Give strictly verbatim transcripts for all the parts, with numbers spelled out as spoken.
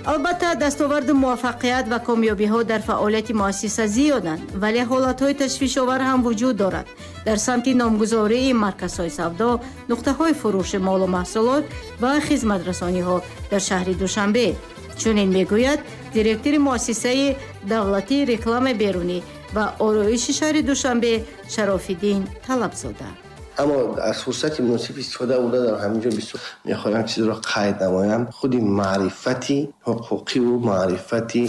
Албатта, дастоварду муваффақият ва комёбиҳо дар фаъолияти муассиса зиёданд, вале ҳолатҳои ташвишовар ҳам вуҷуд дорад. Дар самти номгузории марказҳои савдо, нуқтаҳои фурӯши молу маҳсулот ва хизматрасониҳо дар шаҳри Душанбе. Чунин мегӯяд директори муассисаи давлатии рекламаи берунӣ ва ороиши шаҳри Душанбе Шарофиддин Талабзода. Аммо аз фурсати муносиб истифода бурда дар ҳамин ҷо бисёр мехоҳам чизро қайд намоям. Худи маърифати ҳуқуқиву маърифати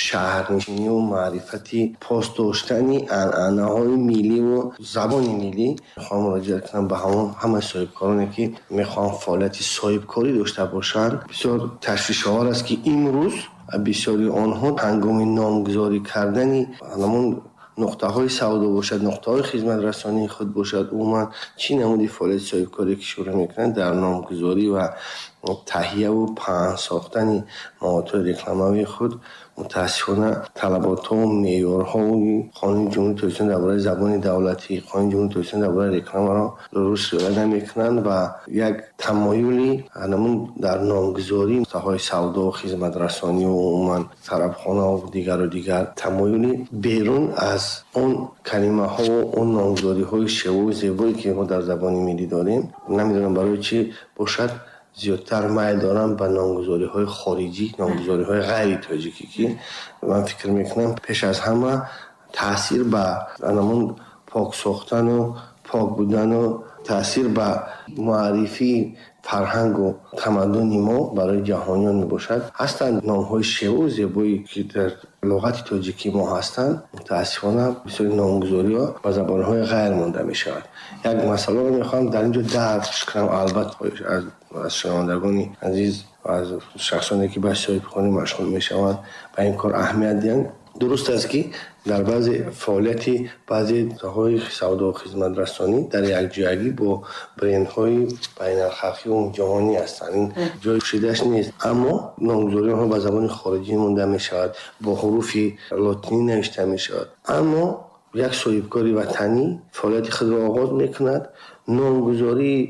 шаҳрнишиниву маърифати пос доштани анъанаҳои милливу забони миллӣ мехоҳам муроҷиат кунам ба ҳамон ҳамаи соҳибкороне, ки мехоҳанд фаъолияти соҳибкорӣ дошта бошанд. Бисёр ташвишовар аст, ки имрӯз бисёри онҳо ҳангоми номгузорӣ кардани ҳамон нуқтаҳои савдо бошад, нуқтаҳои хизматрасонии худ бошад, умуман чӣ намуди фаъолияти соҳибкорӣ ки шурӯъ мекунанд, дар номгузорӣ ва таҳияву паҳн сохтани маводҳои рекламавии худ мутаассифона талаботҳову меъёрҳои Қонуни Ҷумҳурии Тоҷикистон дар бораи забони давлатӣ, Қонуни Ҷумҳурии Тоҷикистон дар бораи рекламаро дуруст риоя намекунанд ва як тамоюли ҳамон дар номгузории нуқтаҳои савдо, хизматрасонӣ ва умуман тарабхонаву дигару дигар тамоюли берун аз он калимаҳову он номгузориҳои шевою зебое, ки мо дар забони миллӣ дорем, намедонам барои чӣ бошад, зиёдтар майл дорам ба номгузориҳои хориҷӣ, номгузориҳои ғайри тоҷикӣ, ки ман фикр мекунам пеш аз ҳама таъсир ба ҳамон пок сохтану пок будану таъсир ба муаррифии фарҳангу тамаддуни мо барои ҷаҳониён мебошад. Ҳастанд номҳои шеву зебое, ки дар луғати тоҷикии мо ҳастанд, мутаассифона бисёри номгузориҳо ба забонҳои ғайр монда мешавад. Як масъаларо мехоҳам дар ин ҷо дарк кунам, албатта аз аз шунавандагони азиз ва аз шахсоне, ки ба соҳибхонӣ машғул мешаванд, ба ин кор аҳамият диҳанд. Дуруст аст, ки дар баъзе фаъолияти баъзе нуқтаҳои савдо хизматрасонӣ дар якҷоягӣ бо брендҳои байналхалқиву ҷаҳонӣ ҳастанд, ин ҷои пӯшидааш нест, аммо номгузории онҳо ба забони хориҷӣ монда мешавад, бо ҳуруфи лотинӣ навишта мешавад. Аммо як соҳибкори ватанӣ фаъолияти худро оғоз мекунад, номгузории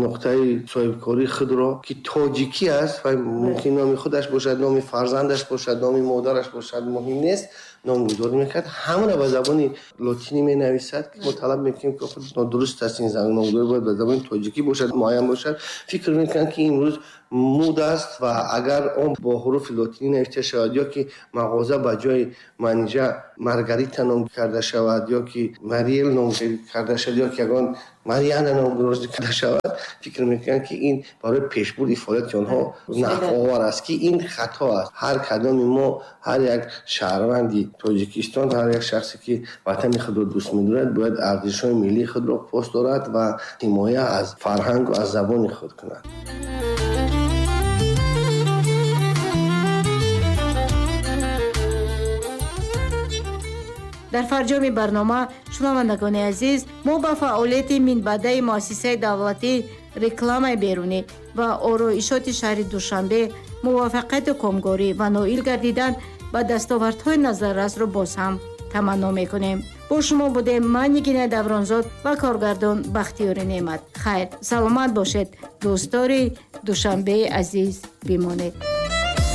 нуқтаи соҳибкории худро, ки тоҷикӣ аст ва мумкин номи худаш бошад, номи фарзандаш бошад, номи модараш бошад, муҳим нест, номгузорӣ мекард, ҳамаро ба забони лотинӣ менависад, ки мо талаб мекунем, ки худ нодуруст аст, ин номгузорӣ бояд ба забони тоҷикӣ бошад, муайян бошад. Фикр мекунанд, ки имрӯз муд аст ва агар он бо ҳуруфи лотинӣ навишта шавад ё ки мағоза ба ҷои Манижа Маргарита ном карда шавад ё ки Мариел ном карда шавад ё ки ягон Марьяна номгузорӣ карда шавад, фикр мекунанд, ки ин барои пешбурди фаъолияти онҳо нафъовар аст, ки ин хато аст. Ҳар кадоми мо, ҳар як шаҳрванди Тоҷикистон, ҳар як шахсе, ки ватани худро дӯст медорад, бояд арзишҳои миллии худро пос дорад ва ҳимоя аз фарҳангу аз забони худ кунад. Дар фарҷоми барнома, шунавандагони азиз, мо ба фаъолияти минбаъдаи муассисаи давлатии рекламаи берунӣ ва ороишоти шаҳри Душанбе муваффақияту комгорӣ ва ноил гардидан ба дастовардҳои назаррасро боз ҳам таманно мекунем. Бо шумо будем ман, Нигина Давронзод, ва коргардон Бахтиёри Неъмат. Хайр, саломат бошед, дӯстдори Душанбеи азиз бимонед.